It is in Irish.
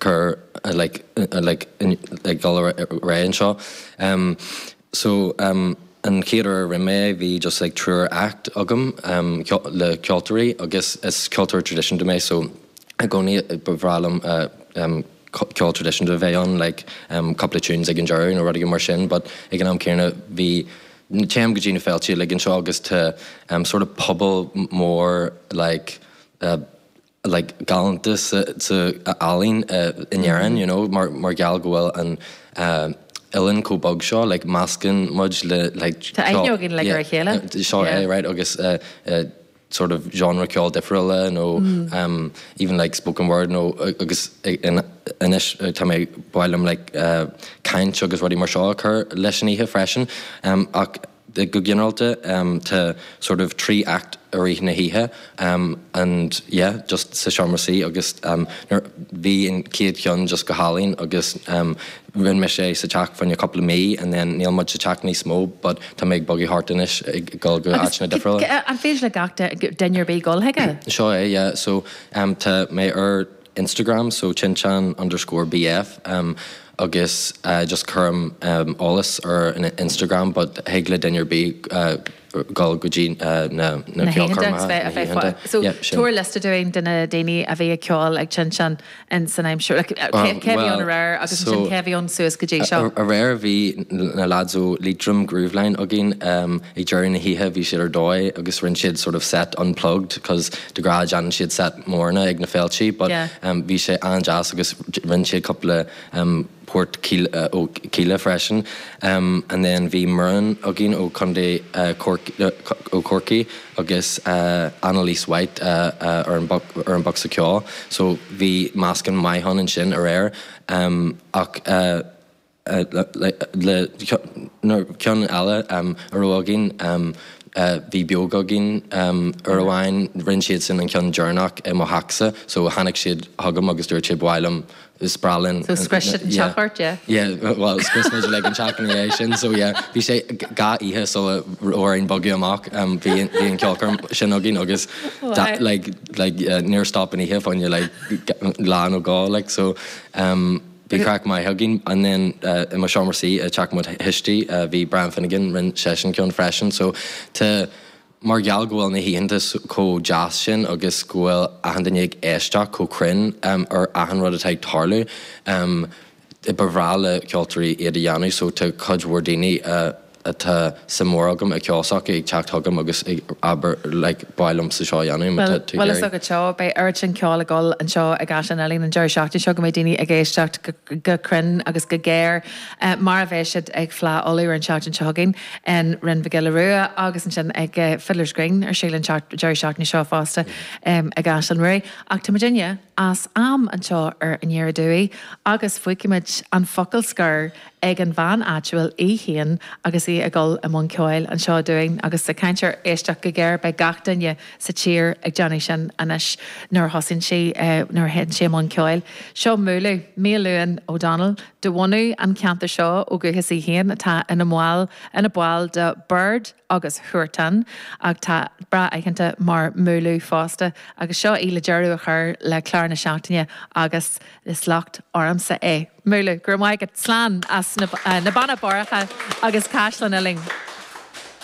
cur like like ag dul ar aghaidh anseo. So an chéad uair a rinne mé é bhí just like triúr act agam le ceoltóirí agus is ceoltóir traidisiúnta mé so i gcónaí ba bhreá liom ceol traidisiúnta a bheith ann like cúpla tunes ag an deireadh nó rud éigin mar sin but ag an am céanna bhí téim go dtí na féilte uilig anseo agus tá sort of pobal mór like like galánta sa sa ealaín in Éirinn you know mar mar gheall go bhfuil an oileán chomh beag seo like meascann muid le like Tá aithne againn like ar a chéile. Seo é right agus sort of genre ceoil difriúla nó even like spoken word nó agus anois tá mé ba mhaith liom like caint agus rudaí mar seo a chur leis an oíche freisin ach Go ginearálta tá sort of 3 act i rith na hoíche and yeah just sa seomra suí agus nuair bhí an chéad cheann just go hálainn agus rinne mise é sa teach fá choinne cúpla mí and then níl muid sa teach níos mó but tá mé ag bogadh thart anois ag dul go áiteanna difriúla. An féidir le gach duine ar bith dul chuige? Seo é yeah so tá mé ar Instagram so tinteán underscore bf agus just cuirim eolas ar an Instagram but thig le duine ar bith dul go dtí na na ceolchoirmeacha, na hoícheanta. So tabhair liosta dúinn de na daoine a bhí ag ceol ag Tinteán in san aimsir, like cé a bhí ann aréir agus ansin cé a bhí ann suas go dtí seo? Aréir bhí na lads ó Leitrim Grooveline againn ag deireadh na hoíche bhí siad ar dóigh agus rinne siad sort of set unplugged cos de ghnáth déanann siad set móranna ag na féiltí but bhí sé an-deas agus rinne siad cúpla port ó Kíla freisin. And then bhí Muireann againn ó Chontae ó Chorcaí agus Annalise White ar an ar an bhosca ceoil. So bhí meascán maith ann ansin aréir ach Le ceann eile a raibh againn, bhí Beoga againn uair amháin, rinne siadsan an ceann deireanach i mo theachsa, so tháinig siad chugam agus dúirt siad ba mhaith liom, is breá linn. So scrios siad an teach ort, yeah? Yeah, well scrios muid uilig an teach ina dhiaidh sin, so yeah, bhí sé dhá oíche sula raibh orainn bogadh amach, bhí an ceolchoirm sin againn agus like like níor stop an oíche fá choinne like lá nó dhó like so. Bhí craic maith againn and then i mo seomra suí i dteach mo thuistí bhí Brian Finnegan, rinne seisean ceann freisin so tá, mar gheall go bhfuil na hoícheanta chomh deas sin agus go bhfuil achan duine ag éisteacht chomh cruinn ar achan rud atá ag tarlú, ba bhreá le ceoltóirí iad a dhéanamh so tá cuid mhór daoine atá suim mhór agam i gceol s'acu ag teacht chugam agus ag abair like ba mhaith liomsa seo a dhéanamh má tá tú ag Bhuel, is iarraidh. agat seo, beidh oiread sin ceoil ag dul anseo i gCaisleán Uidhilín an deireadh seachtaine seo go mbeidh daoine ag éisteacht go cruinn agus go géar mar a bheidh siad ag Fleadh Uladh ar an tseachtain seo chugainn in Rinn Mhic Giolla Rua agus ansin ag Fiddler's Green ar siúl an deireadh seachtaine seo fosta i gCaisleán Ruairí. Ach tá muidinne as am anseo ar Aniar Aduaidh agus fágfaimid an focal scoir ag an bhean áitiúil í féin agus í ag dul i mbun ceoil anseo dúinn agus ag caint ar éisteacht go géar, beidh gach duine sa tír ag déanamh sin anois nuair a thosaíonn sí, nuair a théann sí i mbun ceoil. Seo Mooloo, Maolmhuadhan O'Donnell, de bhunadh an cheantair seo ó dhúchas í féin atá ina mball, ina ball de Bord agus Huartan ach tá breá aitheanta mar Mooloo fosta agus seo í le deireadh a chur le clár na seachtaine agus Is locht ormsa é. Mooloo, go raibh maith agat. Slán as na Beanna Boirche agus Caisleán Uidhilín.